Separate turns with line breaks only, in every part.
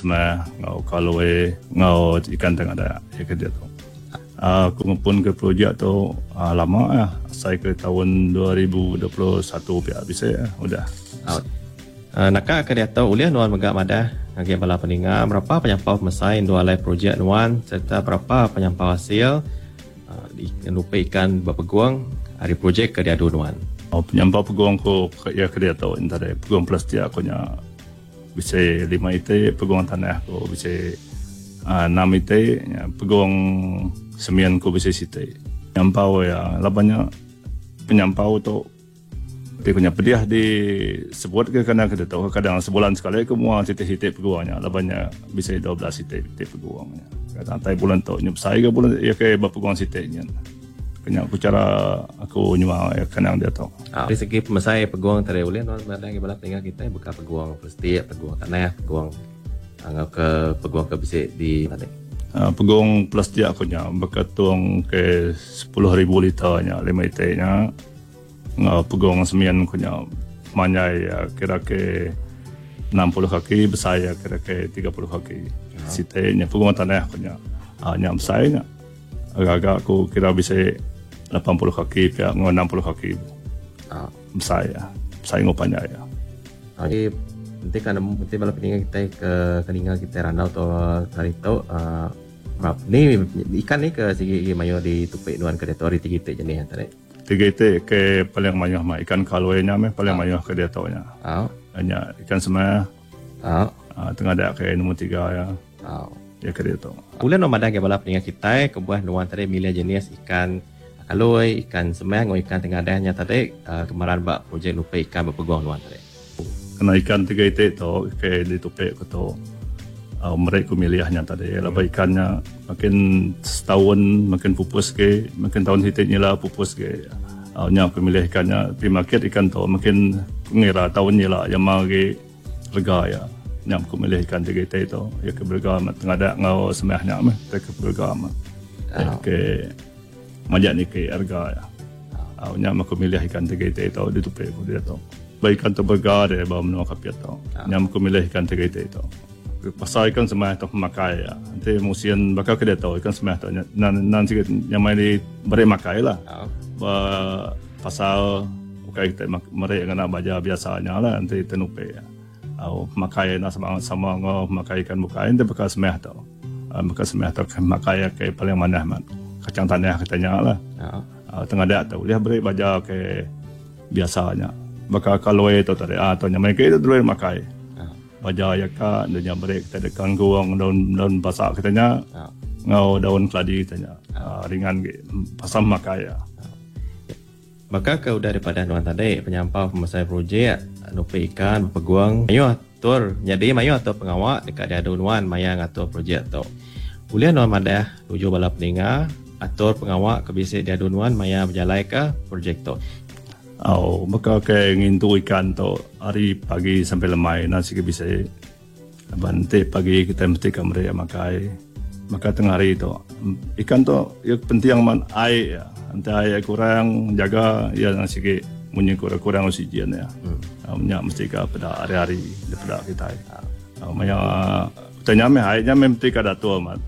semah enggau kaloi enggau ikan tengadak iya ke diatu. Aku ngepun ke projek tu lama ah asai ke taun 2021 pia bisi udah.
Naka ke diatu ulih nuan mega madah ngagai bala peninga berapa penyampau pemesai endur alai projek nuan sereta berapa penyampau asil nupi ikan ba pegung ari projek ke diadu nuan.
Penyampau pegung ku iya ke diatu entara pegung plastik aku nya. Bisi lima iti pegung tanah ku bisi enam iti pegung semin ku bisi siti. Penyampau iya laban nya penyampau tu ti ku nya pedih di sebut ke kana ke ditu kadang sebulan sekali ku mua siti-siti pegung nya laban nya bisi 12 iti iti pegung nya. Kadang tai bulan tu nya besai ga bulan iya ke ba pegung siti nya. Nya ku chara aku nyual iya kenang diatu.
Ari segi pemesai pegung tadi ulih nuan madah agi bala peninga kitai baka pegung plastik, pegung tanah, pegung enggau ke pegung ke bisi di tadi.
Pegung plastik aku nya baka tung ke 10,000 liter nya lima iti nya enggau pegung semin ku nya manjai iya kira ke 60 kaki besai iya kira ke 30 kaki. Siti nya pegung tanah ku nya nya besai nya. Agak-agak aku kira bisi 80 kaki pia enggau 60 kaki. Besai iya. Besai enggau panjai iya.
Agi enti ka nemu enti bala peninga kitai ke ke ninga kitai randau tu hari tu uhh ni ikan ni ke sigi agi mayuh ditupi nuan ke diatu ari ti iti jenih tadi.
Tiga iti ke paling mayuh mah ikan kaloi nya meh paling mayuh ke diatu nya. Nya ikan semah. Tengah dia ke nombor tiga iya. Iya ke diatu.
Ulih nuan madah ngagai bala peninga kitai kebuah nuan tadi milih jenis ikan kaloi, ikan semah enggau ikan tengadah nya tadi kemeran ba projek nupi ikan ba pegung nuan tadi.
Kena ikan tiga iti tu ke ditupi ku tu meri ku milih nya tadi laban ikan nya makin setaun makin pupus agi makin taun siti nyila pupus agi. Nya ku milih ikan nya pi market ikan tu makin ku ngira taun nyila jama agi. Rega iya. Nya ku milih ikan ti kitai tu. Iya ke berega amat tengadak enggau semah nya meh ti ke berega amat. Iya ke majak niki rega iya. Au nya meh ku milih ikan ti kitai tu ditupi ku diatu. Ba ikan tu berega deh ba menua Kapit tu. Nya meh ku milih ikan ti kitai tu. Pasal ikan semah tu pemakai iya. Enti musin baka ke diatu ikan semah tu nan nan sigi nyamai di beri makai lah. Ba pasal Ukai kitai meri ngena baja biasa nya lah enti kitai nupi. Au pemakai enda sama sama enggau pemakai ikan bukai enti baka semah tu. Baka semah tu pemakai ke paling manah amat. Kacang tanah kitai nya lah. Tengadak tu ulih beri baja ke biasa nya. Baka kaloi tu tadi ah tu nya meh ke dulu makai. Baja iya ka enda nya beri kitai deka kangkung daun daun basa kitai nya enggau daun keladi kitai nya. Ringan agi pasal pemakai iya.
Baka ke udah dipadah nuan tadi, penyampau pemesai projek nupi ikan bepegung mayuh atur nyadi mayuh atur pengawa deka diadu nuan maya ngatur projek tu. Ulih nuan madah nuju bala peninga atur pengawa ke bisi diadu nuan maya bejalaika projek tu.
Au, baka ke ngintu ikan tu ari pagi sampai lemai enda sigi bisi. Laban enti pagi kitai mesti ka meri iya makai. Maka tengah hari tu ikan tu iya penting amat ai iya. Enti ai iya kurang jaga iya nang sigi munyi kurang kurang oksigen iya. Hmm. Nya mesti ka peda hari-hari dipeda kitai. Maya utai nya meh ai nya meh mesti ka datur amat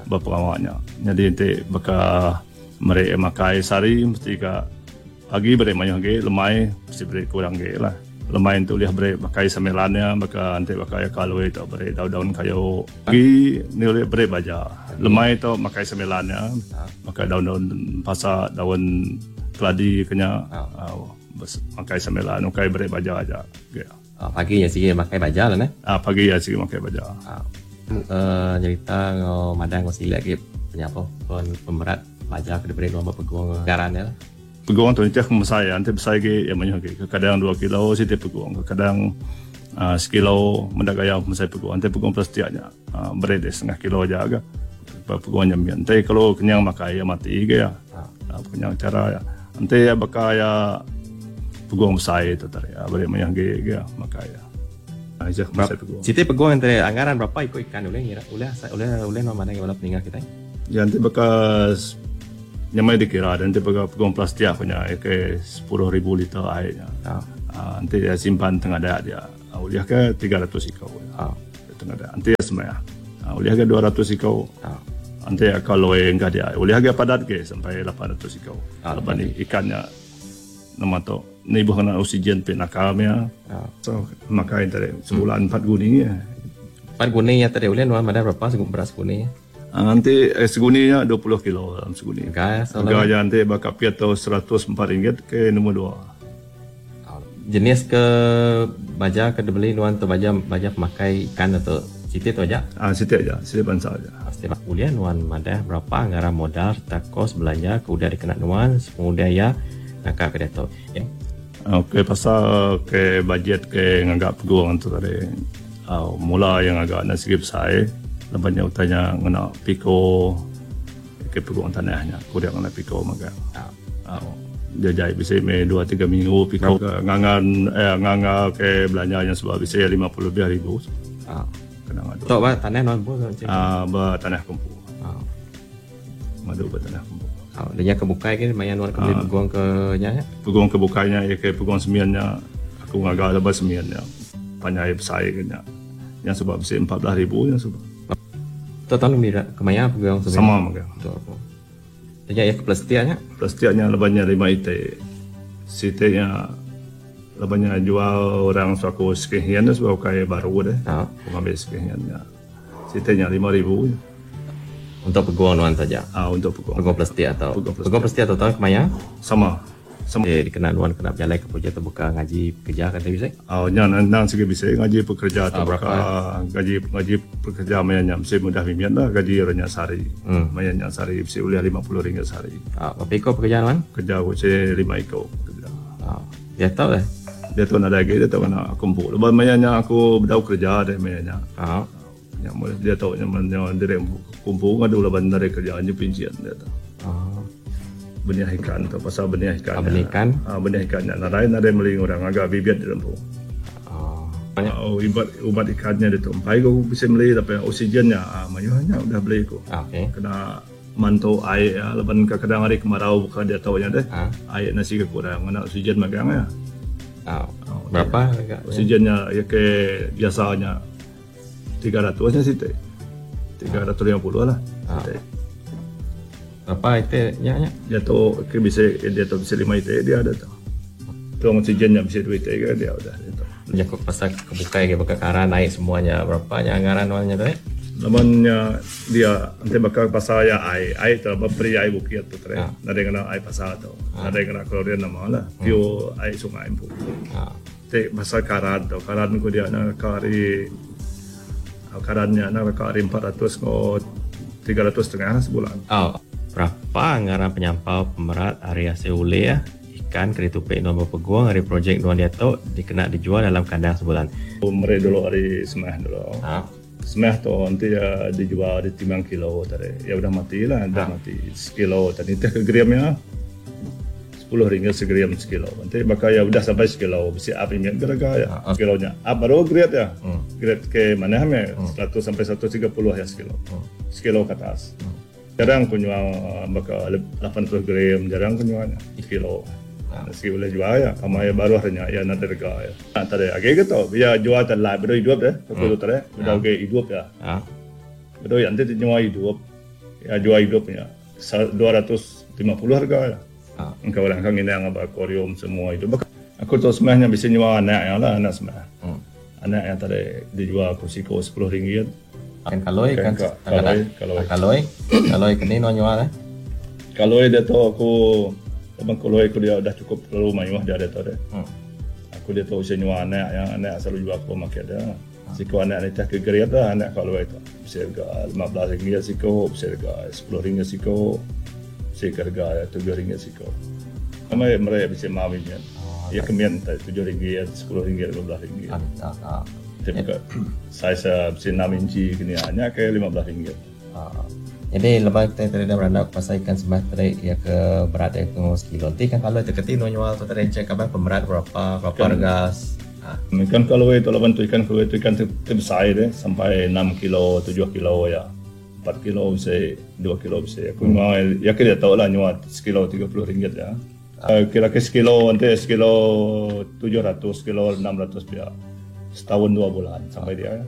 ba pengawa nya. Nyadi enti baka meri iya makai sehari mesti ka Pagi beri mayuh agi, lemai mesti beri kurang agi lah. Lemai enti ulih beri makai semilan iya baka enti baka iya kalui tu beri daun-daun kayu. Pagi enti ulih beri baja. Lemai tu makai semilan iya baka daun-daun pasa, daun keladi ke nya makai semilan ukai beri baja aja.
Pagi iya sigi makai baja lah neh.
Pagi iya sigi makai baja.
Nyerita enggau madah enggau silik agi penyapo pemerat baja ke diberi nuan ba pegung ngaran iya lah.
Pegung tu nitih pemesai iya. Enti besai agi iya mayuh agi. Kekadang dua kilo siti pegung. Kekadang uhh sekilo meda gaya pemesai pegung. Enti pegung plastik nya uhh beri deh setengah kilo aja ga. Pegung nya mit. Enti kelu kenyang makai iya mati ga iya. Uhh kenyang chara iya. Enti iya baka iya pegung besai tu tadi beri mayuh agi ga makai iya. Aja pemesai pegung.
Siti pegung enti anggaran berapa iku ikan ulih ngira ulih ulih ulih nuan madai bala peninga kitai.
Ya enti baka nyamai dikira enti baka pegung plastik aku nya ke 10,000 liter ai nya. Ha. Enti dia simpan tengadak dia ulih ke 300 iku. Ha. Pengadah. Enti iya semaya. Ulih ga 200 iko. Enti iya kaloi engka dia ulih ga padat ge sampai 800 iko. Laban ikan nya nama tu nibuh ngena oksigen ti naka mia. So makai tadi sebulan empat guni.
Empat guni iya tadi ulih nuan madah berapa berat seguni?
Enti seguni nya 20 kilo dalam seguni. Rega iya enti ba kapit tu 104 ringgit ke nombor dua.
Jenis ke baja ke dibeli nuan tu baja baja pemakai ikan tu siti tu aja?
Ah siti aja, siti bansa aja.
Siti bansa. Ulih nuan madah berapa ngaran modal sereta kos belanja ke udah dikena nuan sepengudah iya naka ke diatu?
Okey pasal ke bajet ke ngaga pegung tu tadi au mula iya ngaga enda sigi besai laban nya utai nya ngena piko ke pegung tanah nya ku dia ngena piko mega. Au. Jajai bisi meh dua tiga minggu piko ke ngangan eh nganga ke belanja nya suba bisi 50 lebih ribu.
Au. Kena ngadu. Tok ba tanah nuan empu tu cik.
Ah ba tanah aku empu. Au. Ngadu ba tanah aku empu.
Au nya ke bukai ke maya nuan ke beli pegung ke nya
nya. Pegung ke bukai nya iya ke pegung semin nya aku ngaga ba semin nya panjai besai ke nya. Nya suba bisi 14 ribu nya suba.
Tok tahun kemaya pegung
semin. Sama mega.
Tok. Nya iya ke plastik nya.
Plastik nya laban nya lima iti. Siti nya laban nya jual orang suaku second hand sebab ukai baru deh. Aku ngambi second hand nya. Siti nya 5000 nya.
Untuk peguang nuan saja.
Ah untuk peguang.
Peguang plastik atau. Peguang plastik. Peguang plastik atau tahun kemaya?
Sama.
Ti dikena nuan kena bejalai ke projek tebuka ngaji pekerja ke enti bisi?
Au nya endang sigi bisi ngaji pekerja tebuka gaji ngaji pekerja maya nya bisi mudah mimit lah gaji ira nya sehari. Maya nya sehari bisi ulih 50 ringgit sehari.
Au berapa iko pekerja nuan?
Kerja aku bisi lima iko pekerja.
Au diatu deh?
Diatu nadai agi diatu ngena aku empu laban maya nya aku bedau kerja deh maya nya.
Au.
Nya meh diatu nya meh nya diri empu ngadu laban nadai kerja nya pinchin diatu. Benih ikan tu pasal benih ikan.
Benih ikan.
Benih ikan nya nadai nadai meli orang ngaga bibit diri empu. Oh ubat ubat ikan nya ditu empai ku bisi meli tapi oksigen nya mayuh nya udah beli ku. Kena mantu ai iya laban kadang hari kemarau buka diatu nya deh. Ai nya siga kurang ngena oksigen magang iya.
Berapa?
Oksigen nya iya ke biasa nya. 300 nya siti. 350 lah siti.
Berapa iti nya
nya? Dia tu ke bisi dia tu bisi 5 iti dia ada tu. Tong oksigen nya bisi 2 iti ke dia udah dia tu.
Jaku pasal ke bukai ke baka karan ai semua nya berapa nya anggaran nuan nya tu eh?
Laban nya dia enti baka pasal iya ai, ai tu ba peri ai bukit tu tadi. Nadai ngena ai pasar tu. Nadai ngena klorin nama lah. Pure ai sungai empu. Ti pasal karan tu, karan ku dia naka ari karan nya naka ari 400 enggau 300 setengah lah sebulan.
Au. Berapa ngaran penyampau pemerat ari asil ulih ikan ke ditupi nuan bepegung ari projek nuan diatu dikena dijual dalam kandang sebulan?
Meri dulu ari semah dulu. Semah tu enti iya dijual ditimbang kilo tadi iya udah mati lah udah mati sekilo tadi nitih ke gram iya 10 ringgit segram sekilo enti baka iya udah sampai sekilo bisi up mimit ke rega iya sekilo nya up baru grade iya grade ke manah meh 100 sampai 130 iya sekilo sekilo ke atas jarang ku nyual baka 80 gram jarang ku nyual nya sekilo sigi ulih jual iya pama iya baruh nya iya nadai rega iya. Tadi agi ke tu iya jual te live bedau idup deh aku tu tadi bedau agi idup iya. Bedau iya enti ti nyua idup iya jual idup nya 250 harga iya. Engka orang ka nginang aba aquarium semua idup. Aku tu semah nya bisi nyua anak iya lah anak semah. Anak iya tadi dijual aku siko 10 ringgit.
Ikan kaloi ikan kaloi kaloi. Kaloi kaloi keni nuan nyual eh.
Kaloi diatu aku laban kaloi aku dia udah cukup terlalu mayuh dia diatu deh. Aku diatu usia nyual anak iya anak selalu jual ke market dia. Siko anak nitih ke grade lah anak kaloi tu. Bisi rega 15 ringgit siko, bisi rega 10 ringgit siko, bisi ke rega 7 ringgit siko. Amai meri bisi mau mimit. Iya ke mit enti 7 ringgit, 10 ringgit, 15 ringgit. Ti mega saiz bisi enam inci ke nia nya ke 15 ringgit.
Nyadi lebuh kitai tadi dah berandau pasal ikan sembah tadi iya ke berat iya ke sekilo. Enti ikan kaloi tu keti enu nyual tu tadi encik kaban pemerat berapa berapa rega.
Ikan kaloi tu laban tu ikan kaloi tu ikan ti besai deh sampai enam kilo tujuh kilo iya. Empat kilo bisi dua kilo bisi. Aku nyual iya ke diatu lah nyual sekilo 30 ringgit iya. Kira ke sekilo enti sekilo 700 sekilo 600 pia. Setaun dua bulan sampai dia.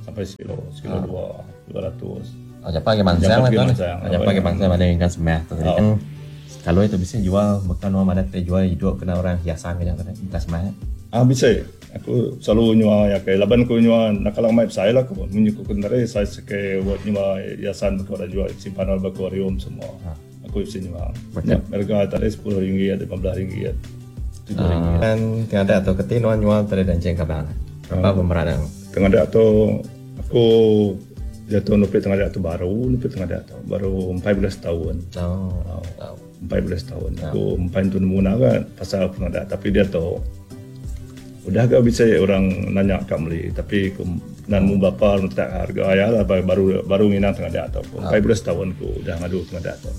Sampai sekilo, sekilo dua, 200.
Oh, jampat agi mansang lah tu. Jampat agi mansang banding ikan semah tu tadi. Oh. Kalau itu bisa jual bukan orang mana kita jual hidup kena orang hiasan ke jangan ikan semah.
Ah bisa. Aku selalu nyua ya ke laban aku nyua nak kalau mai besai lah aku munyi ku kendare saiz ke buat nyua hiasan ke orang jual simpan dalam akuarium semua. Ha. Aku bisa nyua. Ya, harga tadi 10 ringgit, 15 ringgit.
7 ringgit. Kan tengah ada tu keti nuan nyual tadi dan ceng kabang. Berapa pemeran yang?
Tengah ada tu aku jatuh nupi tengah ada tu baru nupi tengah ada tu baru 14 tahun.
Oh.
Oh. 14 tahun. Oh. Aku empat tu nemu nak kan pasal tengah ada tapi dia tu udah gak bisa orang nanya kat beli tapi aku nan mu bapa letak harga ayah lah baru baru nginang tengah ada tu. 14 tahun aku udah ngadu tengah ada tu.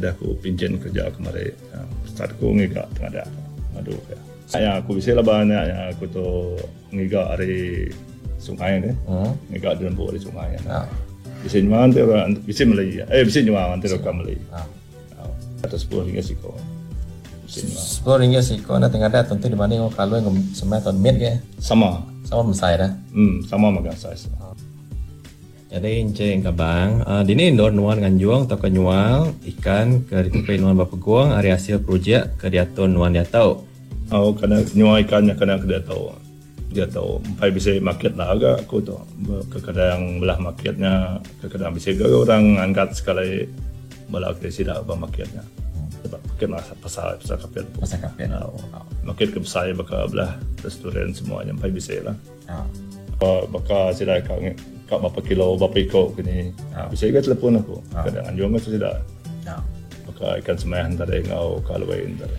Udah aku pinjam kerja kemari. Start aku ngiga tengah ada ngadu ke. Ya aku bisa lah banyak ya aku tu ngiga hari sungai ni. Ngiga di lembu hari sungai. Bisa nyual nanti orang bisa beli. Bisa nyual nanti orang beli. Atau 10 ringgit siko.
10 ringgit siko na tengah ada tentu dibanding kalau yang semai atau mid ke?
Sama.
Sama besar dah.
Sama makan size.
Jadi encik kabang, dini ndor nuan nganjuang atau ke nyual ikan ke ditupi nuan berpeguang hari hasil projek ke diatur nuan dia tahu.
Oh, kena nyual ikannya kena ke dia tahu. Dia tahu empai bisa market lah agak aku tu. Kadang belah marketnya, kadang bisa ke orang angkat sekali belah ke sida ba marketnya. Sebab market lah pasar pasar kapit.
Pasar kapit.
Oh. Market ke besar baka belah restoran semuanya empai bisa lah. Baka sida ka kat berapa kilo, berapa ekor ke ni. Bisa ke telefon aku. Kadang anjung ke sida. Baka ikan semai hantar ngau kalwei hantar.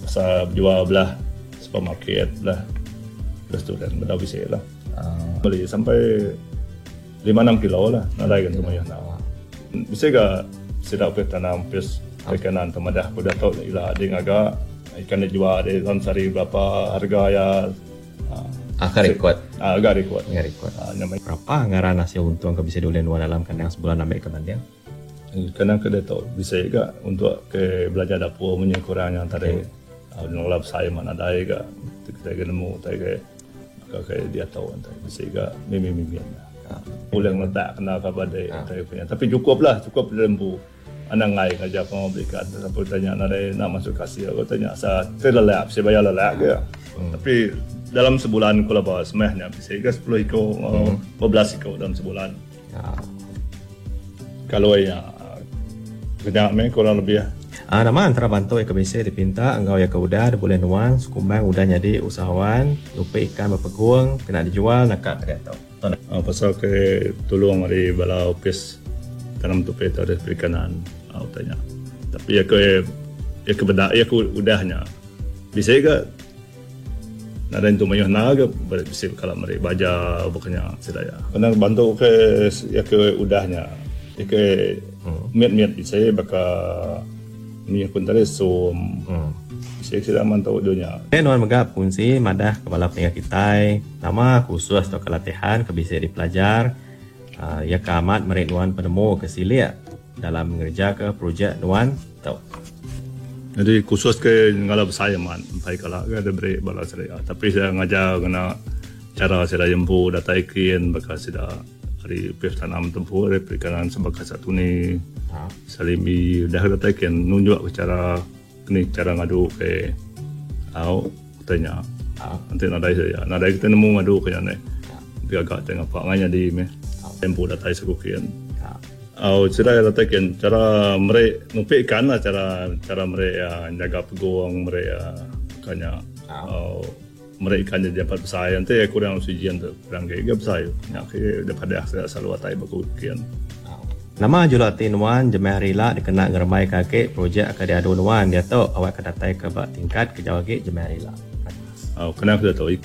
Pasar jual belah supermarket belah restoran belah bisa lah. Beli sampai 5-6 kilo lah. Nadai kan semua yang nak. Bisa ke sida pe tanam pes perikanan temadah aku dah tahu ila dia agak ikan dia jual dia dalam sehari berapa harga ya.
Agak rekod.
Agak rekod.
Agak rekod. Berapa anggaran hasil untung ke bisa diulih nuan dalam kandang sebulan ambil ke banding?
Kadang ke dia tahu bisa juga untuk ke belajar dapur punya kurang yang tadi. Nolap saya mana ada juga kita kena nemu tak ke ke dia tahu entah bisa juga mimi-mimi. Boleh letak kena apa dia punya. Tapi cukup lah, cukup lembu. Anak ngai kerja apa belikan. Siapa tanya nak nak masuk kasih aku tanya saya terlelap, saya bayar lelap ke. Tapi dalam sebulan kalau bawa semehnya bisa ke 10 ekor, 12 ekor dalam sebulan. Kalau ya kerja me kurang lebih ya.
Nama antara bantu yang bisa dipinta engkau yang keudah boleh nuang sekumbang udah jadi usahawan lupa ikan berpeguang kena dijual nak kat dia tahu.
Pasal ke tolong dari bala office tanam tupai atau perikanan tanya. Tapi ya ke ya ke benda ya ke udahnya bisa ke nada itu mayuh naga bisa kalau mereka baca bukannya sedaya. Kena bantu ke ya ke udahnya ya ke miat-miat bisa baka ni pun tadi so bisa sudah mantau dunia.
Nuan megap fungsi madah kepala peningkat kita nama khusus atau kelatihan ke bisa dipelajar ya keamat mereka nuan penemu ke silia dalam mengerja ke projek nuan tau.
Jadi khusus ke ngalap saya man empai kala ke ada beri bala saya. Tapi saya ngajar kena cara saya jempu data ikin bakal sudah hari pif tanam tempuh dari perikanan sebagai satu ni salimi dah data ikin nunjuk ke cara ni cara ngadu ke au tanya. Nanti nadai saya nadai kita nemu ngadu ke ni. Dia agak tengah pak nganya di me tempuh data sekukian. Oh, cara letakkan cara mereka nupi ikan lah cara cara mereka jaga peguang mereka kanya mereka ikan jadi dapat besar nanti kurang oksigen tu kurang ke besar nak ke daripada saya selalu atai baku ikan.
Nama julak tinuan jemah rila dikena ngeremai kaki projek akan diadu nuan dia tu awak kedatai ke bak tingkat ke jauh ke jemah rila.
Oh, kena kita tahu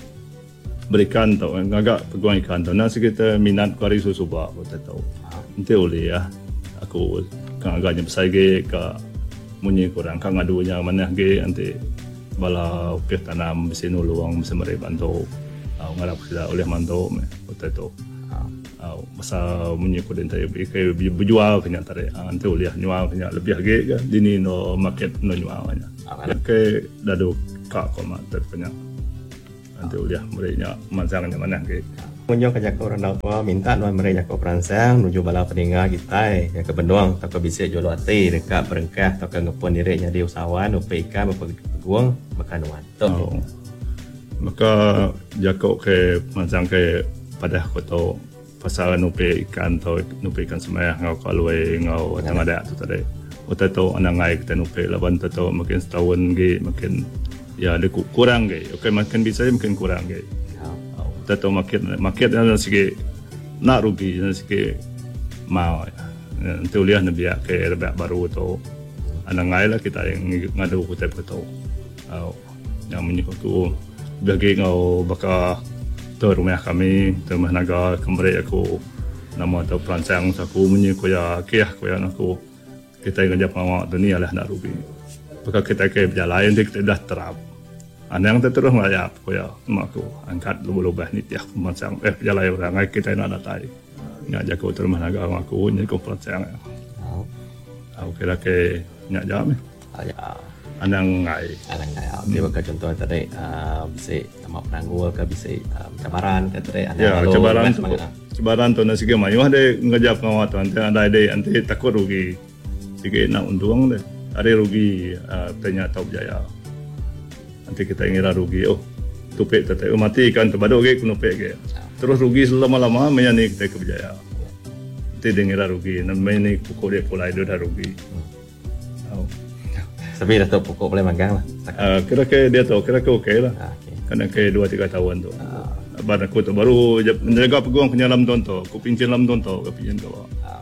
berikan tu agak peguang ikan tu nasi kita minat kuari susu bak kita tahu. Nanti boleh ya. Aku kan agaknya besar ke ke munyi kurang kan ngadunya mana ke nanti bala upih tanam mesti nuluang mesti mereka bantu. Ngarap kita oleh mantu me betul tu. Masa munyi kurang tadi ke berjual kena tarik. Nanti boleh nyual kena lebih ke ke dini no market no nyualnya. Ke dadu kak kau mak terpunya. Nanti boleh mereka mansangnya mana ke.
Ngunjung ke jaku randau tua minta nuan meri jaku peransang nuju bala peninga kitai iya ke benung tauka bisi juluk ati deka berengkah tauka ngepun diri nyadi usahawan upi ikan bepegung baka nuan tu.
Oh. Baka jaku ke pemansang ke padah ku tu pasal nupi ikan tu nupi ikan semah enggau kalui enggau tengadak tu tadi. Utai tu anang ngai kitai nupi laban utai tu makin setaun agi makin Ya deh kurang agi. Ukai makin bisai makin kurang agi. Utai tu market market nya sigi enda rugi nya sigi mau. Enti ulih nembiak ke rebak baru tu anang enggai lah kitai ngadu utai baka tu. Au nya munyi ku aku lebih agi enggau baka tu rumah kami tu rumah naga ke meri aku nama tu peransang aku munyi ku iya akih ku iya aku. Kitai ngereja pengawa tu ni alah enda rugi. Baka kitai ke bejalai enti kitai udah terap. Anang te terus ngelayap, ku iya nemu aku. Angkat lubah-lubah nitih pemansang eh pejalai orang ai kitai enda datai. Nya jaku tu rumah naga enggau aku nyadi ku peransang iya. Au kira ke nya aja meh. Anang enggai.
Anang enggai. Ti baka chunto tadi uhh bisi nama penanggul ke bisi cabaran ke tadi anang
lalu cabaran tu. Cabaran tu enda sigi mayuh deh ngereja pengawa tu enti nadai deh enti takut rugi sigi enda untung deh ari rugi uhh ti nya tau berjaya. Enti kitai ngira rugi oh tupi tu tai oh mati ikan tu badu agi ku nupi agi. Terus rugi selama-lama maya ni kitai ke berjaya. Enti deh ngira rugi maya ni pukul deh pulai deh udah rugi.
Tapi dah tu pokok boleh magang lah.
Uh, kira ke dia tu, kira ke okey lah. Ah, okay. Kena ke 2 3 tahun tu. Uh. Ban aku tu baru menjaga peguang penyalam tuan tu, aku pincin lam tuan tu, aku pincin tu.
Uh.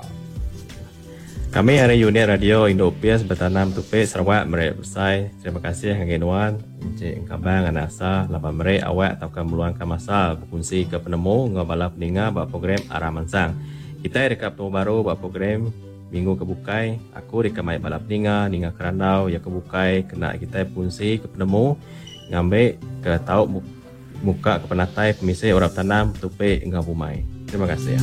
Kami ari unit radio Indu Opis Betanam Tupi Sarawak meri besai terima kasih ngagai nuan Encik Engkabang Anak Asa laban meri awak tauka meluangka masa bekunsi ke penemu enggau bala peninga ba program Arah Mansang. Kitai deka betemu baru ba program Minggu ke bukai, aku deka mai bala peninga ninga kerandau iya ke bukai kena kitai bekunsi ke penemu ngambi ke tau muka ke penatai pemisi orang betanam betupi enggau bumai. Terima kasih.